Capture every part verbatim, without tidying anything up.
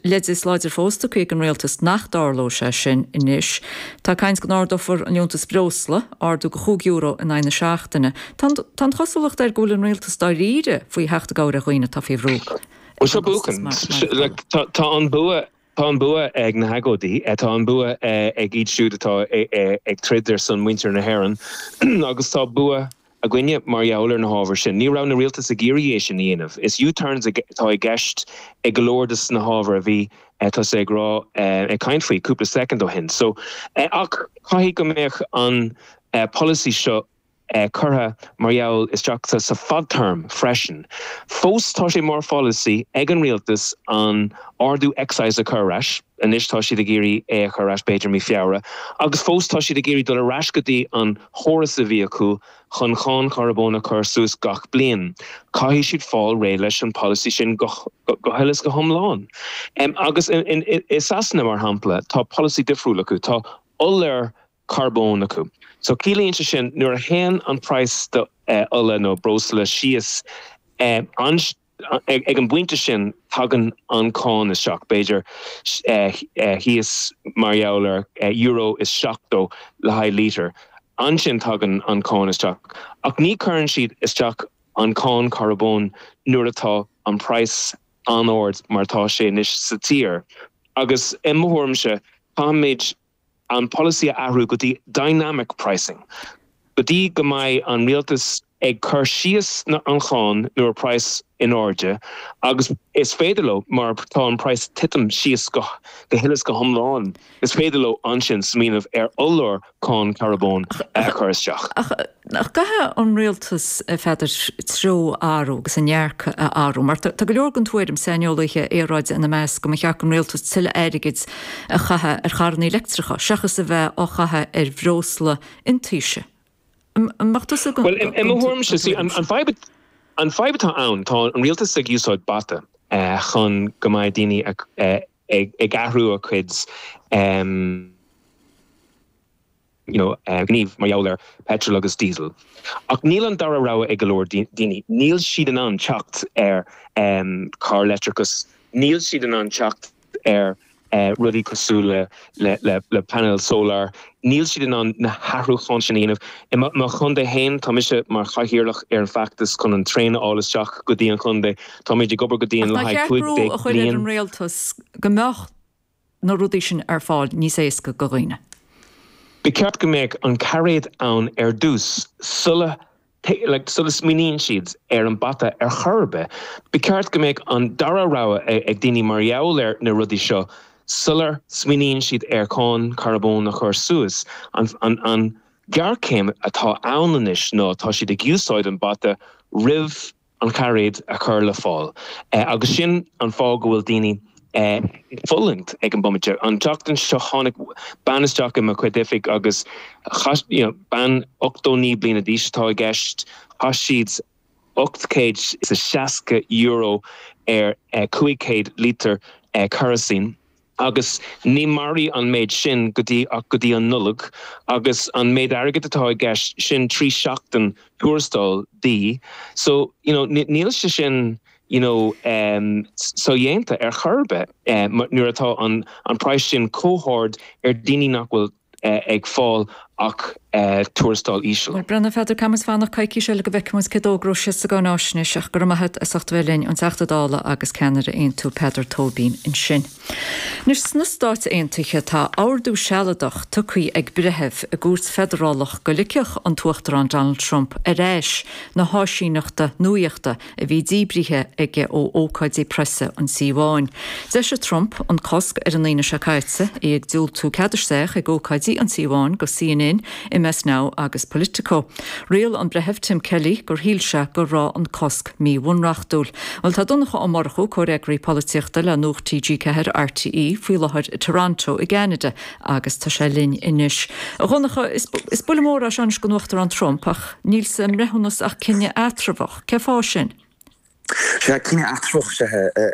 Leide is láidir fós tugtha ag an rialtas nach dtarlódh sé sin anois. Tá caint go n-ardófar an liúntas breosla, ardú go chúig euro in aghaidh na seachtaine. Tá an chosúlacht air go bhfuil an rialtas dáiríre faoi theacht i gcabhair ar dhaoine atá faoi bhrú. Well seo buachan. Tá an bua Tá an bua ag na hagóidí, tá an bua ag iad siúd atá ag troid ar son muintir na hÉireann agus tá bua againne mar gheall ar na hábhair sin. Ní raibh na rialtas ag iarraidh é sin a dhéanamh. Is U-turns atá i gceist ag go leor des na hábhair a bhí tusa ag rá ag caint faoi cúpla soicind ó shin. So ach caithfidh go mbeadh an polasaí seo curtha mar gheall isteach sa fadterm freisin. Fós tá sé mar pholasaí ag an rialtas an ardú excise a chur ar ais, anois tá siad ag iarraidh é a chur ar ais b'fhéidir mí Feabhra, agus fós tá siad ag iarraidh dul ar ais go dtí an chóras a bhí acu chun cáin charbóin a chur suas gach bliain. Caithfidh siad fáil réidh leis an polasaí sin go go huile is go hiomlán. Um, agus i Sasana mar shampla tá polasaí difriúil acu, tá ola carbón acu. So ciallaíonn sé sin nuair a théann an price do uh, ola nó breosla síos um, an ag, ag an bpointe sin tagann an cáin isteach b'fhéidir uh, uh, thíos mar gheall ar uh, euro is seachtó le haghaidh lítear. Ansin tagann an cáin isteach. Ach ní chuireann siad isteach an cáin carbón nuair atá an price an-ard mar tá sé anois sa tír. Agus i mo thuairimse caithfimid an polasaí a athrú go dtí dynamic pricing. Go dtí go mbeidh an rialtas ag cur síos na an cháin nuair price in airde, agus is féidir leo mar tá an price titim síos go go huile is go hiomlán. Is féidir leo ansin smaoineamh ar ollmhór cáin carbón a chur isteach. Ach ach caithfidh an rialtas féidir treo a athrú agus an dearcadh a athrú, mar tá go leor den tuairim saineolaithe aeráide ina measc go mba cheart don rialtas tuilleadh airgid a chaitheamh ar charranna leictreacha, seachas a bheith á chaitheamh ar bhreosla iontaise. Well i mo thuairimse an fadhb an fadhb atá ann tá an rialtas ag úsáid bata uh, chun go mbeidh daoine ag, ag, ag athrú a cuid um, you know, uh, gníomh mar gheall ar petrol agus diesel. Ach níl an dara rogha ag go leor daoine, níl siad in ann teacht ar um, car leictreachas, níl siad in ann teacht ar uh, rudaí cosúil le, le, le, le panel solar, níl siad in ann na hathrúcháin sin a dhéanamh. I mo chontae féin tá mise mar chathaoirleach ar an feachtas chun an traein a fháil isteach go dtí an chontae Táimid ag obair go dtí an le haghaidh cúig déag a chuir an rialtas go mbeadh na rudaí sin ar fáil níos éasca do dhaoine. Ba cheart go mbeadh an cairéad ann ar dtús sula like, sula smaoiníonn siad ar an bata ar chor ar bith. Ba cheart go mbeadh an dara rogha ag daoine mar gheall ar na rudaí seo sular smaoiníonn siad ar cháin carbón a chur suas an, an, an géarchéim atá ann anois ná tá siad ag úsáid an bata roimh an cairéad a chur le fáil. Uh, agus sin an fáth go bhfuil daoine uh, fulaingt ag an bomaite. An tseachtain seo tháinig bean isteach i mo chuid oifig agus you know, bean ochtó naoi bliana d'aois atá i gceist chaith siad ocht céad is a seasca euro ar uh, cúig céad lítear uh, kerosene. Agus ní mairfidh an méid sin go dtí ach go dtí an Nollaig, agus an méid airgid atá i gceist sin trí seachtain tuarastal di. So you know, níl sé sin you know, um, sodhéanta ar chor ar bith um, nuair atá an, an price sin chomh hard ar daoine nach bhfuil uh, ag fáil ach uh, tuarastal íseal. Well Breandán Pheadair caithfidh muid fanacht coicís eile go bhfeicfidh muid cé d'fhógróidh siad sa gcáináisnéis ach go raibh maith agat as ucht bheith linn an Teachta Dála agus ceannaire Aontú Peadar Tóibín ansin. Anois sna Stáit Aontaithe tá ordú sealadach tugtha ag breitheamh i gcúirt feidearálach go ligfeadh an tUachtarán Donald Trump ar ais na háisíneachta nuachta a bhí díbrithe aige ó ócáidí preasa an tSíobháin. D'eisigh Trump an cosc ar an Aoine seo caite é ag diúltú cead isteach ag ócáidí an tSíobháin go CNN, MS Now agus Politico. Riail an breitheamh Tim Kelly gur shíl sé go raibh an cosc míbhunreachtúil. Well tá Donncha Ó Murchú comhfhreagraí polaitíochta le Nuacht TG Ceathair RTÉ faoi láthair i Toronto i gCeanada agus tá sé linn anois. A Dhonncha is, is buille mór é seo don Uachtarán Trump ach níl sa mbreithiúnas ach cinneadh eatramhach, cén fáth sin? Sé cinneadh eatramhach sé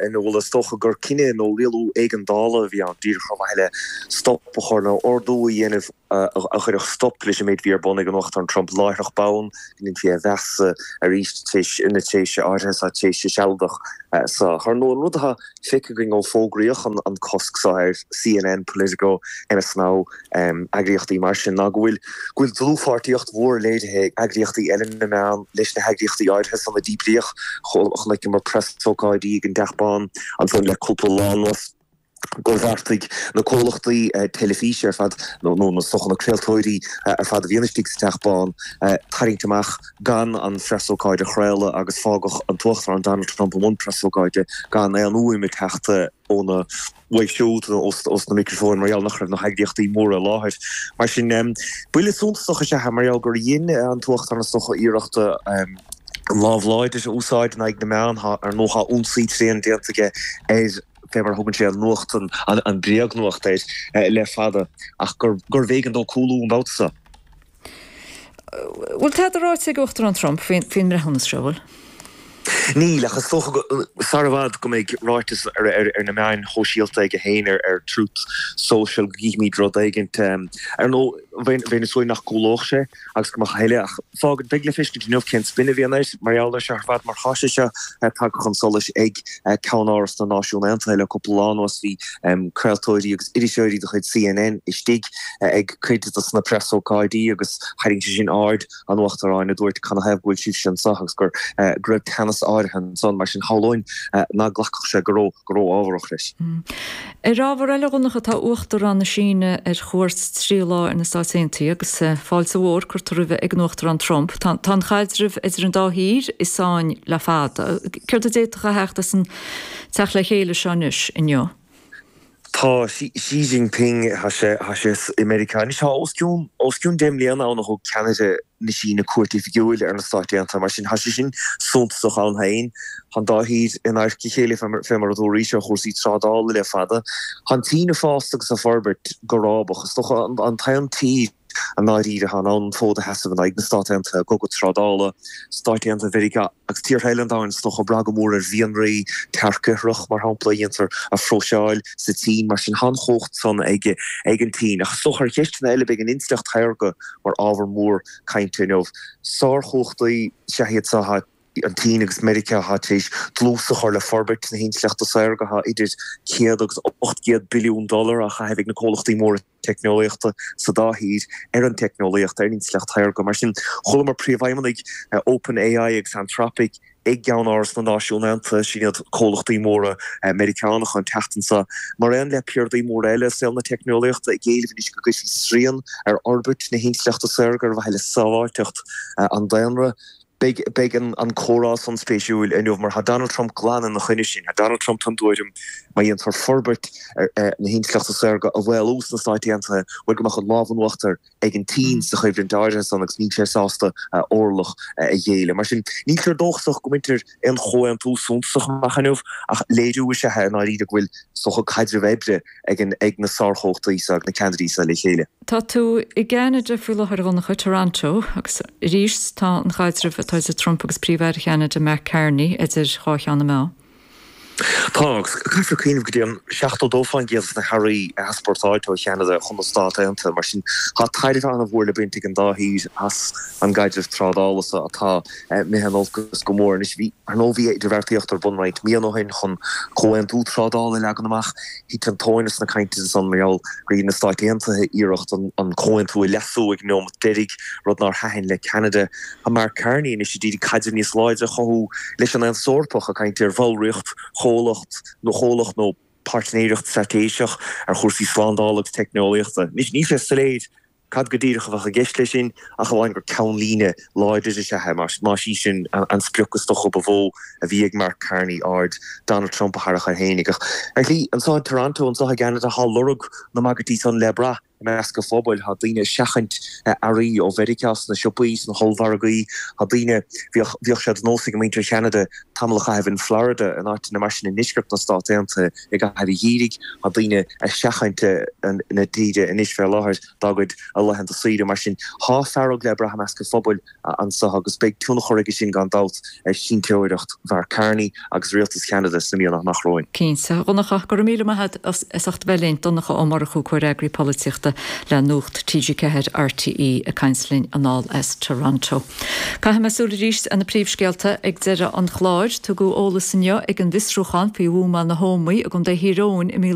in bhfuil is dócha gur cinneadh nó rialú éigeandála a bhí ann díreach chomh maith le stop a chur nó ordú a dhéanamh a chuirfeadh stop leis an méid a bhí ar bun ag an Uachtarán Trump láithreach bonn, go ndéanfaí é a mheas arís tar éis na tréimhse áirithe seo, tréimhse sealadach seo. Ar ndóigh, an rud atá feicthe againn ó fógraíodh an cosc seo ar C N N, Politico, M S Now, eagraíochtaí mar sin, ná go bhfuil go bhfuil dlúthpháirtíocht mhór léirithe ag eagraíochtaí eile na meán leis na heagraíochtaí áirithe san a díbríodh. Chonaiceamar preasócáidí ag an dTeach Bán ansan le cúpla lá anuas gur bheartaigh na comhlachtaí teilifíse ar fad nó na socha na craoltóirí ar fad a bhíonn istigh sa Teach Bán tarraingt amach gan an phreasócáid a chraoladh agus fágadh an tUachtarán Donald Trump i mbun preasócáide gan aon fhuaim ag teacht óna uaidh siúd nó os na micreafóin mar gheall nach raibh na heagraíochtaí móra i láthair. Mar sin, buille suntasach is ea é mar gheall gur dhein an tUachtarán is dócha iarracht an lámh láidir a úsáid in aghaidh na meán. Ar ndóigh, tá ionsaí tréan déanta aige ar fé mar a thugann sé an nuacht, an bréagnuacht air le fada ach gurbh éigean dó cúlú an babhta seo. Bhfuil tada ráite ag Uachtarán Trump faoin mbreithiúnas seo, bhfuil? Níl, ach is dócha sar i bhfad go mbeidh ráiteas ar na meáin shóisialta aige féin ar Truth Social go gcífimid rud éigint. Ar ndóigh, bheinn ag súil nach gcúlódh sé agus go mbeadh a thuilleadh, ach fágann, beidh le feiscint inniu cén spin a bhíonn air mar gheall air seo ar fad mar tá sé seo tagtha chun solais ag Ceann-Áras na Náisiún Aontaithe le cúpla lá anuas. Bhí craoltóirí agus iriseoirí de chuid C N N istigh ag cuid de na preasócáidí agus tharraing sé sin aird an Uachtaráin a dúirt canathaobh go bhfuil sibhse anseo agus gur go raibh teannas áirithe ansan, mar sin shamhlóinn nach nglacfadh sé go ró-ámharach leis. Ar ábhar eile, a Dhonncha, tá Uachtarán na Síne ar chuairt trí lá ar na Stáit Aontaithe agus fáilte mhór curtha roimhe ag an Uachtarán Trump. Tá an caidreamh idir an dá thír i sáinn le fada. Céard a d'fhéadfadh a theacht as an teacht le chéile seo anois inniu? Tá Xi Jinping tá sé tá sé i Meiriceá anois. Tá os cionn os cionn deich mbliana ann ó thug ceannaire na Síne cuairt oifigiúil ar na Stáit Aontaithe, mar sin tá sé sin suntasach ann féin. Tá an dá thír in adharca a chéile fé mar a dúraís ar chúrsaí trádála le fada. Tá an tSín ag fás agus ag forbairt go rábach. Is dócha an t-aon tír i ndáiríre atá in ann an fód a sheasamh in aghaidh na Stát Aontaithe i gcogadh trádála. Stáit Aontaithe Mheiriceá agus tíortha eile an domhain is dócha ag brath go mór ar mhianraí, tearc-ithreach, mar shampla, a dhéantar a phróiseáil sa tSín. Mar sin, tá an chumhacht san ag ag an tSín. Ach is dócha ar cheisteanna eile beidh an intleacht shaorga mar ábhar mór cainte inniu. Sárchumhachtaí is ea iad seo, an tSín agus Meiriceá, atá tar éis dlús a chur le forbairt na hintleachta saorga. Tá idir céad agus ocht gcéad billiún dollar á chaitheamh ag na comhlachtaí móra teicneolaíochta sa dá thír ar an teicneolaíocht, ar an intleacht shaorga. Mar sin, chualamar príomhfheidhmeannaigh OpenAI agus Anthropic ag gCeann-Áras na Náisiún Aontaithe, sin iad comhlachtaí móra Meiriceánacha, an tseachtain seo, mar aon le piardaí móra eile i saol na teicneolaíochta, ag éileamh anois go gcuirfí srian ar fhorbairt na hintleachta saorga ar mhaithe le sábháilteacht an daonra. Beidh beidh an an comhrá san spéisiúil inniu mar tá Donald Trump glan ina choinne sin. Tá Donald Trump den tuairim má dhéantar forbairt ar na hintleachta saorga a mhaolú sna Stáit Aontaithe, bhuel go mbeadh an lámh in uachtar ag an tSín sa choimhlint áirithe san agus níl sé sásta orlach a ghéilleadh. Mar sin, níltear dóchasach go mbaintear aon chomhaontú suntasach amach inniu ach léiriú is ea é i ndáiríre go bhfuil is dócha caidreamh oibre ag an ag na sárchumhachtaí seo, ag na ceannairí seo le chéile. Tá tú i gCeanada faoi láthair, a Dhonncha, Toronto, agus arís tá an caidreamh atá idir Trump agus Príomh-Aire Cheanada Mark Carney idir dhá cheann na meá. Tá, agus caithfear cuimhneamh go dtéann seachtó dó faoin gcéad de na hearraí a easpórtáiltear ó Cheanada chun na Stát Aontaithe, mar sin tá tairbhe an-mhór le baint ag an dá thír as an gcaidreamh trádála seo atá imithe in olcas go mór. Anois, bhí, ar ndóigh, bhí idirbheartaíocht ar bun roinnt míonna ó shin chun comhaontú trádála a leagan amach. Thit an tóin as na cainteanna san mar gheall gur dhein na Stáit Aontaithe iarracht an comhaontú a leasú ag an neomat deiridh, rud nár thaitin le Ceanada. Tá Mark Carney anois ag iarraidh caidreamh níos láidre a chothú leis an Aontas Eorpach, ag caint ar bhallraíocht chomhlacht nó chomhlacht nó páirtnéireacht straitéiseach ar chúrsaí slándála agus teicneolaíochta. Anois, níl sé soiléir cad go díreach a bheadh i gceist leis sin, ach amháin gur ceannlíne láidir is ea é, más í sin an sprioc is dócha ba mhó a bhí ag Mark Carney, aird Donald Trump a tharrac air féinig. Ach ar shlí, anseo i Toronto, anseo i gCeanada, tá lorg na mbagairtí san le brath i measc an phobail. Tá daoine ag seachaint earraí ó Mheiriceá sna siopaí, sna hollmhargaí. Tá daoine, bhíodh, bhíodh sé de nós ag muintir Cheanada tamall a chaitheamh in Florida, in áiteanna mar sin i ndeisceart na Stát Aontaithe i gcaitheamh an gheimhridh. Tá daoine ag seachaint na tíre anois fé láthair dá gcuid laethanta saoire. Mar sin, tá fearg le brath i measc an phobail anseo agus beidh tionchar aige sin gan dabht ar chinnteoireacht Mhark Carney agus rialtas Cheanada sna míonna amach romhainn. Cinnte. A Dhonncha, go raibh míle maith agat as ucht a bheith linn. Donncha Ó Murchú, Comhfhreagraí Polaitíochta. Flatharta le Nuacht T G Ceathair R T E ag caint linn anall as Toronto. Caithfidh mé súil arís ar na príomhscéalta ag deireadh an chláir. Tugadh eolas inniu ag an bhfiosrúchán faoi bhuamáil na hÓmaí i gContae Thír Eoghain i mí